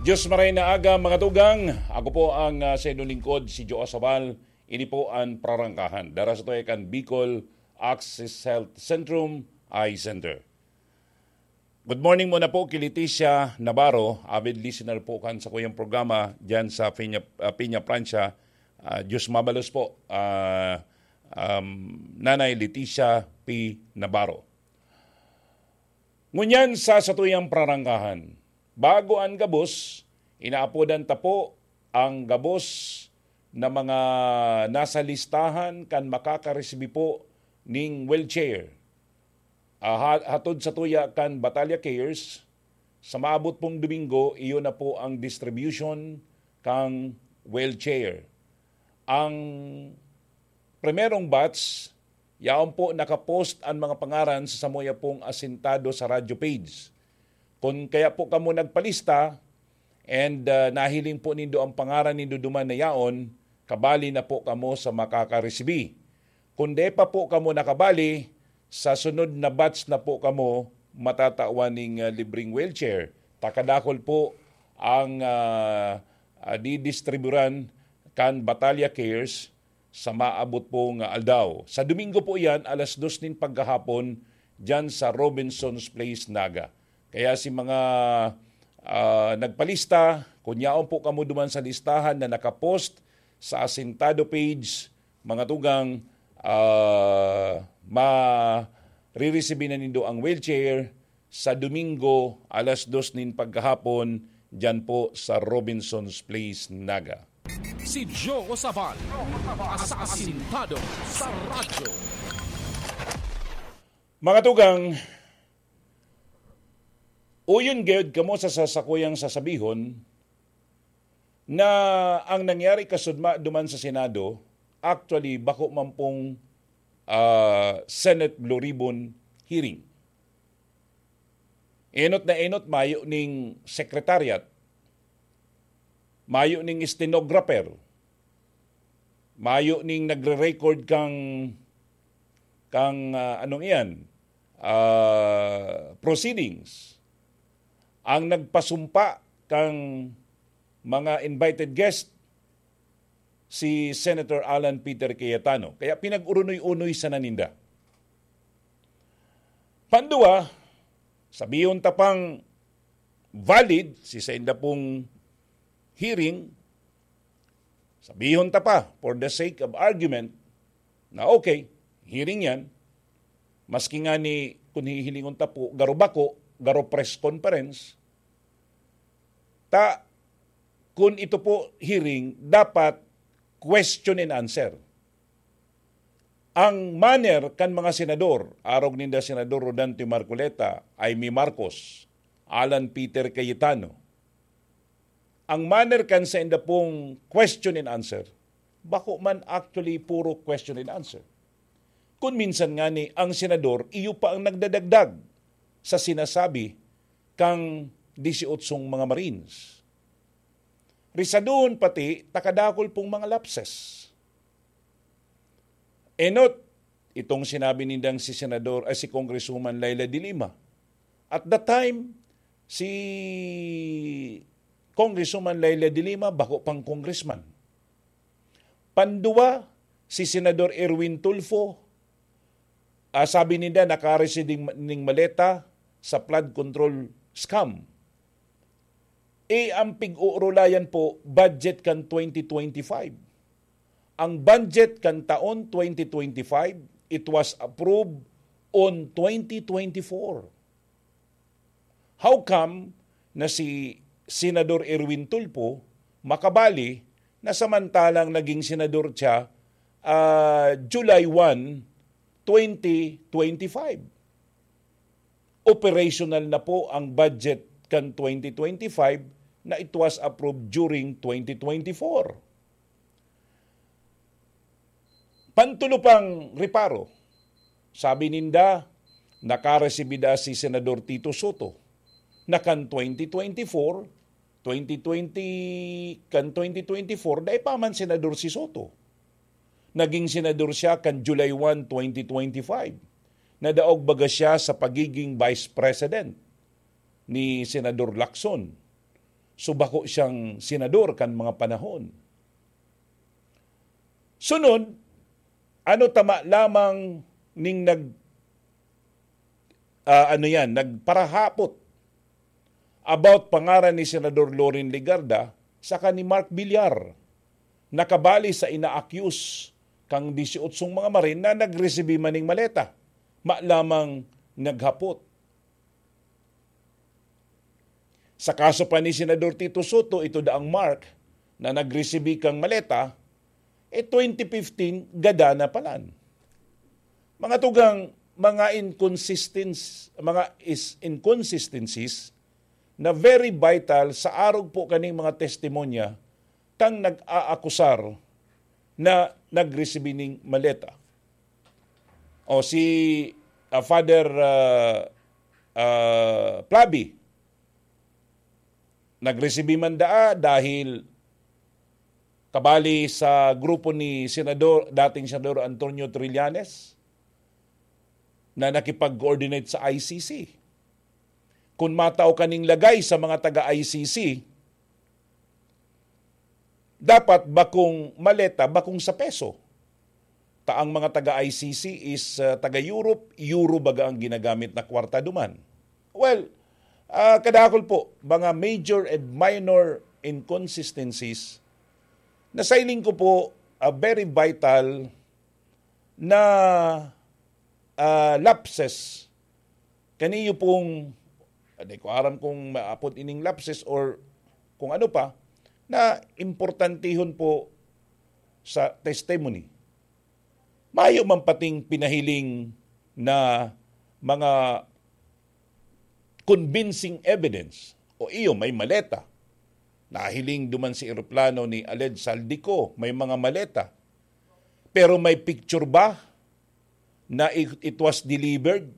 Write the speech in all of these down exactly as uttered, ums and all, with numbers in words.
Diyos maray na aga, mga tugang. Ako po ang, ah, sa inyong lingkod, si Joe Sabal. Ini po ang prarangkahan. Dara sa tuya kan Bicol Access Health Centrum, Eye Center. Good morning muna po kay Leticia Navarro, avid listener po kan sa kuyang programa dyan sa Peña, ah, Peña Francia. Ah, Diyos mabalos po, ah, um, Nanay Leticia P. Navarro. Ngunyan sa satuyang prarangkahan, bago an gabos, inaapodan ta po ang gabos na mga nasa listahan kan makakaresibi po ning wheelchair. Ah, ha-, hatod sa tuya kan Batalya Cares, sa maabot pong Domingo, iyon na po ang distribution kang wheelchair. Ang primerong batch, yaon po nakapost an mga pangaran sa samuya pong asintado sa radyo page. Kun kaya po kamo nagpalista and, ah, nahiling po nindo ang pangaran nindo duman na yaon, kabali na po kamo sa makakaresibi. Kun di pa po kamo nakabali, sa sunod na batch na po kamo matatawan ning, ah, libreng wheelchair. Takadakol po ang, ah, ah, didistriburan kan Batalya Cares sa maabot pong aldaw. Sa Domingo po iyan, alas dos nin paggahapon, diyan sa Robinson's Place, Naga. Kaya si mga, ah, nagpalista, kun yaon po kamo duman sa listahan na nakapost sa Asintado page, mga tugang, ah, mariresibi na nindo ang wheelchair sa Domingo, alas dos nin paggahapon, diyan po sa Robinson's Place, Naga. Si Joe Sabal, sa Asintado sa Radyo. Mga tugang, uyon gayod kamo sa sasakuyang sasabihon na ang nangyari kasudma duman sa Senado, actually, bako man pong, ah, Senate Blue Ribbon hearing. Enot na enot, mayo ning secretariat, mayo ning stenographer, mayo ning nagre-record kang, kang, ah, anong iyan, ah, proceedings. Ang nagpasumpa kang mga invited guest, si Senator Alan Peter Cayetano. Kaya pinag-urunoy-unoy sana ninda. Pandua, sabihon ta pang valid si sainda pong hearing, sabihon ta pa, for the sake of argument, na okay, hearing yan, maski nga ni, kung hihilingon ta po, garo bako, garo press conference, ta, kun ito po hearing, dapat question and answer. Ang manner kan mga senador, arog ninda Senador Rodante Marcoleta, Imee Marcos, Alan Peter Cayetano, ang manner kan sainda pong question and answer, bako man actually puro question and answer. Kun minsan ngani, ang senador, iyo pa ang nagdadagdag sa sinasabi kang disyootsong mga Marines. Risadohon pati, takadakol pong mga lapses. Enot, itong sinabi nindang si Senador, ay, si Congresswoman Leila de Lima. At that time, si Congresswoman Leila de Lima, bako pang congressman. Pandua, si Senador Erwin Tulfo, ah, sabi ninda, nakareceive ning, ning maleta sa flood control scam. Eh, ang pig-uurulayan po, budget kan twenty twenty-five. Ang budget kan taon twenty twenty-five, it was approved on twenty twenty-four. How come na si Senador Erwin Tulfo makabali na samantalang naging senador siya, ah, July one, twenty twenty-five? Operational na po ang budget kan twenty twenty-five na it was approved during twenty twenty-four. Pantulo pang reparo, sabi ninda, nakaresibida si Senador Tito Soto na kan twenty twenty-four, twenty twenty, kan twenty twenty-four, dai pa man senador si Soto. Naging senador siya kan July one, twenty twenty-five. Nadaog baga siya sa pagiging vice president ni Senador Lacson. So, bako siyang senador kan mga panahon. Sunod, ano tama lamang ning nag-, ah, ano yan, nagparahapot about pangaran ni Senador Loren Legarda saka ni Mark Villar, na kabali sa ina-accuse kang disyootsong mga marin na nagresibi man ning maleta, ma lamang naghapot. Sa kaso pa ni Senador Tito Soto, ito daang Mark na nagresibi kang maleta, eh, twenty fifteen, gada na palan. Mga tugang, mga inconsistence-, mga is-, inconsistencies na very vital sa arog po kaning mga testimonya kang nag-aakusar na nagresibi ning maleta. O si, ah, Father, ah, ah, Plabi, nagresibi man daa dahil kabali sa grupo ni Senador, dating Senador Antonio Trillanes, na nakipag-coordinate sa I C C. Kun matao kaning lagay sa mga taga-I C C, dapat bakong maleta, bakong sa peso. Ta ang mga taga-I C C is, ah, taga-Europe, euro baga ang ginagamit na kwarta duman. Well, ah, kadakul po, mga major and minor inconsistencies na sa hiling ko po, ah, very vital na, ah, lapses. Kaniyo pong, di ko aram kung maapod ining lapses or kung ano pa, na importantehon po sa testimony. Mayo man pating pinahiling na mga convincing evidence. O iyo, may maleta. Nahiling duman sa eroplano ni Aled Saldico, may mga maleta. Pero may picture ba na it, it was delivered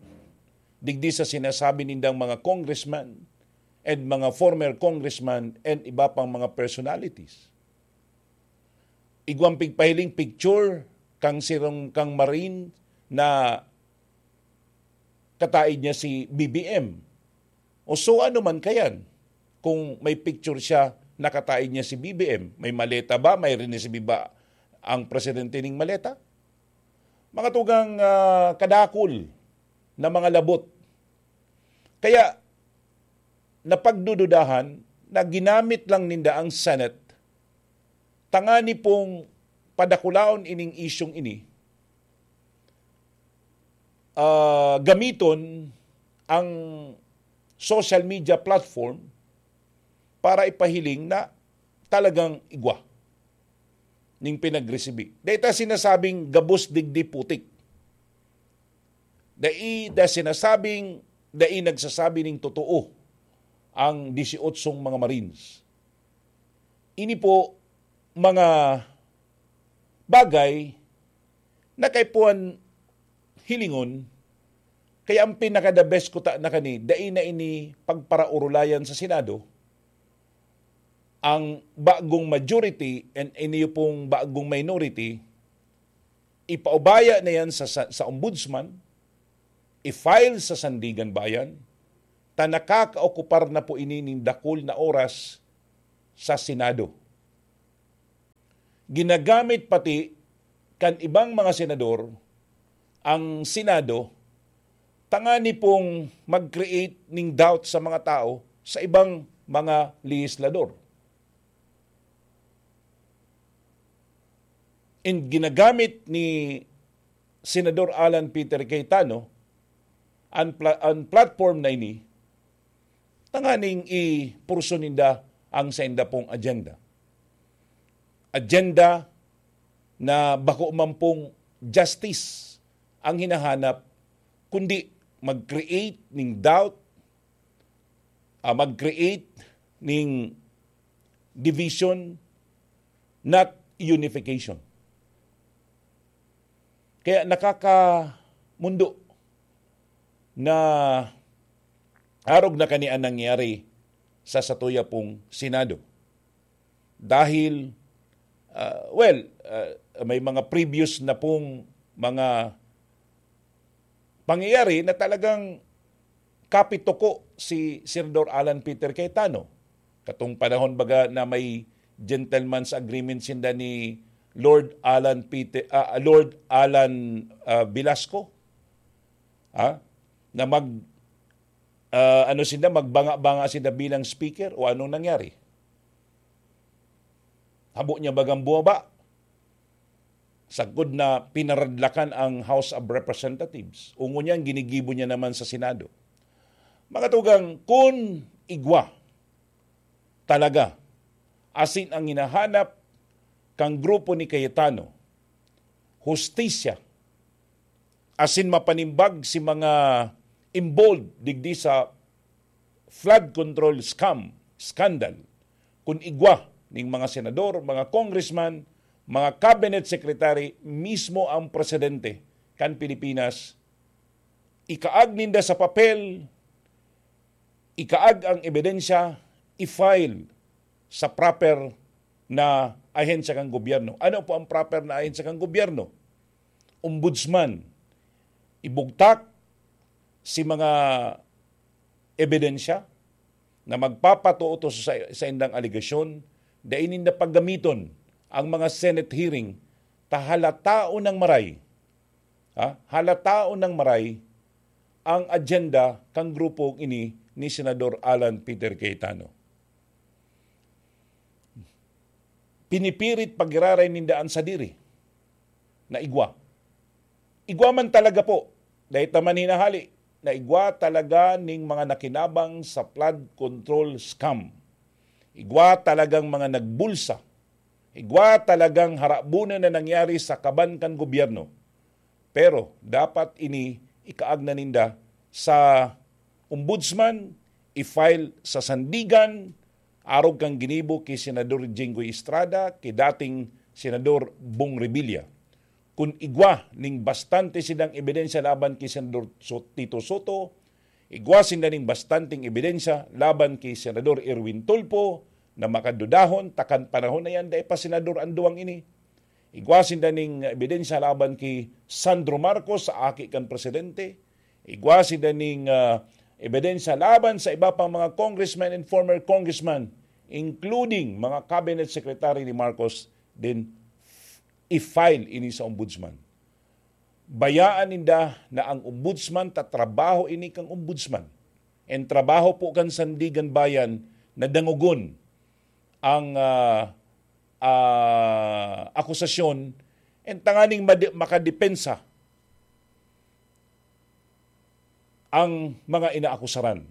digdi sa sinasabi nindang mga congressman and mga former congressman and iba pang mga personalities? Igwang pigpahiling picture kang sirong, kang Marine na kataid niya si B B M. O so ano man kayan? Kung may picture siya, nakataid niya si B B M, may maleta ba? May rinisibi ba ang presidente ning maleta? Mga tugang, ah, kadakul na mga labot. Kaya, napagdududahan na ginamit lang ninda ang Senate tangani pong padakulaon ining isyung ini, ah, gamiton ang social media platform para ipahiling na talagang igwa ning pinagresibi. Dai ta sinasabing gabos digdi putik. Dai ta sinasabing, dai nagsasabi ning totoo ang disyootsong mga Marines. Ini po mga bagay na kaipuhan hilingon, kaya ang pinaka-the best kuta na kani, dai na ini pagparaorulayan sa Senado, ang bagong majority and ini pong bagong minority, ipaubaya na yan sa, sa, sa ombudsman, i-file sa Sandigan Bayan, ta nakakaokupar na po ini nin dakul na oras sa Senado. Ginagamit pati kan ibang mga senador ang Senado tangani pong mag-create ning doubt sa mga tao sa ibang mga legislador. And ginagamit ni Senador Alan Peter Cayetano ang pla-, ang platform na ini tanganing ipurso ninda ang sainda pong agenda. Agenda na bako man pong justice ang hinahanap, kundi mag-create ning doubt, ah, mag-create ning division, not unification. Kaya nakakamundo na arog na kani ang nangyari sa satuya pong Senado. Dahil, ah, well, ah, may mga previous na pong mga pangyayari na talagang kapituko si Senador Alan Peter Cayetano. Katong panahon baga na may gentleman's agreement sinda ni Lord Alan Peter, ah, Lord Alan, ah, Velasco. Ha? Na mag, ah, ano sinda, magbanga-banga sinda bilang speaker o anong nangyari? Habo niya bagang bumaba? Sagkod na pinaradlakan ang House of Representatives, o ngunyan ginigibo niya naman sa Senado. Mga tugang, kun igwa talaga asin ang hinahanap kan grupo ni Cayetano, hustisya, asin mapanimbag si mga involved digdi sa flood control scam, scandal, kun igwa ning mga senador, mga congressman, mga cabinet secretary, mismo ang presidente kan Pilipinas, ikaag ninda sa papel, ikaag ang ebidensya, i-file sa proper na ahensya kan gobyerno. Ano po ang proper na ahensya kan gobyerno? Ombudsman. Ibugtak si mga ebidensya na magpapatuo sa, sa indang alegasyon, dai ninda paggamiton ang mga Senate hearing ta halataon nang maray, ha? Halataon nang maray ang agenda kan grupong ini ni Senador Alan Peter Cayetano. Pinipirit pagiraray ninda an sadiri na igwa. Igwa man talaga po, dahil ta man hinahali, na igwa talaga ning mga nakinabang sa flood control scam. Igwa talagang mga nagbulsa. Igwa talagang harabunan na nangyari sa kaban kan gobyerno. Pero dapat ini ikaag na ninda sa ombudsman, i-file sa sandigan, arog kan ginibo ki Senador Jinggoy Estrada, ki dating Senador Bong Revilla. Kun igwa ning bastante sinang ebidensya laban ki Senador So-, Tito Soto, igwa sinda ning bastanteng ebidensya laban ki Senador Erwin Tulfo na makadudahon, ta kan panahon na yan, dai pa senador an duwang ini. Igwa sinda ning ebidensya laban ki Sandro Marcos sa aki kan presidente. Igwa sinda ning, ah, ebidensya laban sa iba pang mga congressmen and former congressmen, including mga cabinet secretary ni Marcos, then i-file ini sa ombudsman. Bayaan ninda na ang ombudsman ta trabaho ini kan ombudsman. And trabaho po kan Sandigan Bayan na dangogon ang, ah, ah, akusasyon and tanganing made-, makadepensa ang mga inaakusaran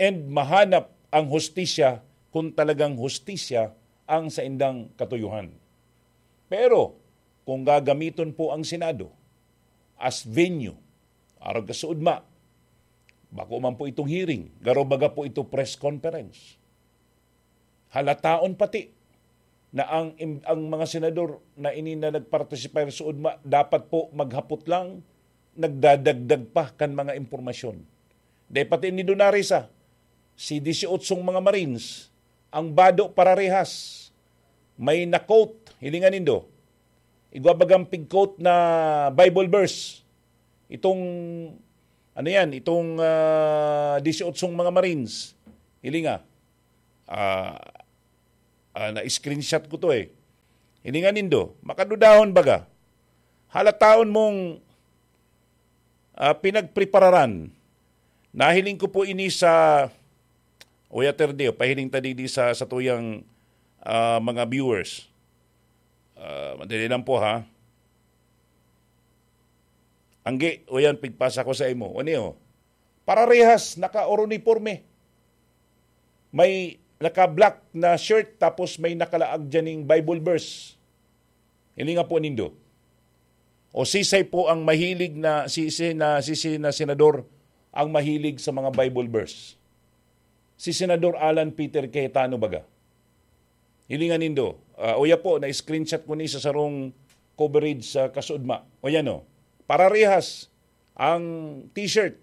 and mahanap ang hustisya kung talagang hustisya ang saindang katuyuhan. Pero kung gagamiton po ang Senado as venue, arog ka suudma, bako man po itong hearing, garo baga po ito press conference. Halataon pati na ang im-, ang mga senador na ini na nagpartisipar suod ma-, dapat po maghapot lang, nagdadagdag pa kan mga impormasyon. Dai pati ni Donarisa, si disyootsong mga Marines, ang bado pararehas. May na-quote, hilingan nindo. Igwa bagang pig-quote na Bible verse. Itong, ano yan, itong, ah, disyootsong mga Marines. Hilinga. Ah, ah, na-screenshot ko to eh. Hilingan nindo, makadudahon baga. Halataon mong, ah, pinagprepararan. Nahiling ko po ini sa Oya Terdeo, pahiling ta digdi sa, sa tuyang, ah, mga viewers. Ah, madali lang po, ha. Anggi, o yan, pigpasa ko sa imo. Ano yun? Pararehas, naka-uniforme. May naka-black na shirt, tapos may nakalaag dyan ning Bible verse. Hilinga po nindo. O sisay po ang mahilig na, sisi na, sisi na senador ang mahilig sa mga Bible verse? Si Senador Alan Peter Cayetano baga? Hilingan nindo. Ah, uya po, na-screenshot ko ni sa sarong coverage sa kasuodma. O yan o. Pararehas ang t-shirt.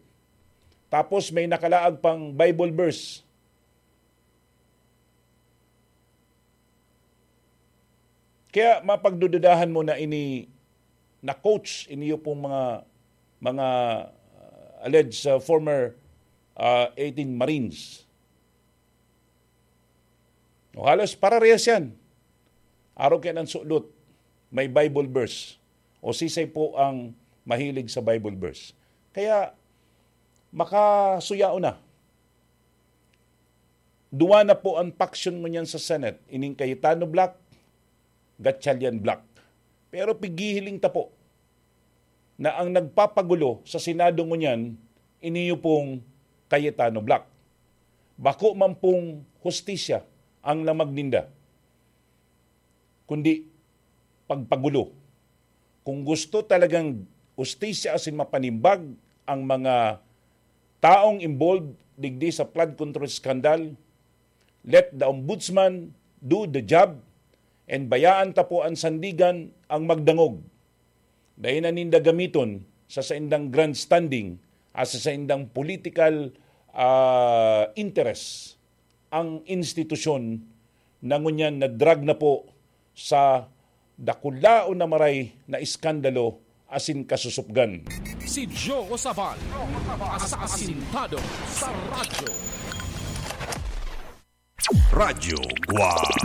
Tapos may nakalaag pang Bible verse. Kaya mapagdududahan mo na ini na coach, iniyo pong mga, mga, uh, alleged, uh, former, uh, eighteen Marines. O halos pararehas yan. Arog kaiyan an sudot, may Bible verse. O sisay po ang mahilig sa Bible verse. Kaya, makasuyaon na. Duwa na po ang faction ngunyan sa Senate, ining Cayetano bloc, Gatchalian bloc. Pero pighihiling ta po na ang nagpapagulo sa Senado ngunyan, iniyo pong Cayetano bloc. Bako man pong hustisya ang lamag ninda, kundi pagpagulo. Kung gusto talagang hustisya asin mapanimbag ang mga taong involved digdi sa flood control scandal, let the ombudsman do the job and bayaan ta po an sandigan ang magdangog. Dai na ninda gamiton sa saindang grandstanding at sa saindang political, ah, interest ang institusyon na ngunyan na-drag na po sa dakulaon na maray na iskandalo asin kasusupgan. Si Joe Sabal, asasintado sa radyo. Radyo Guwang.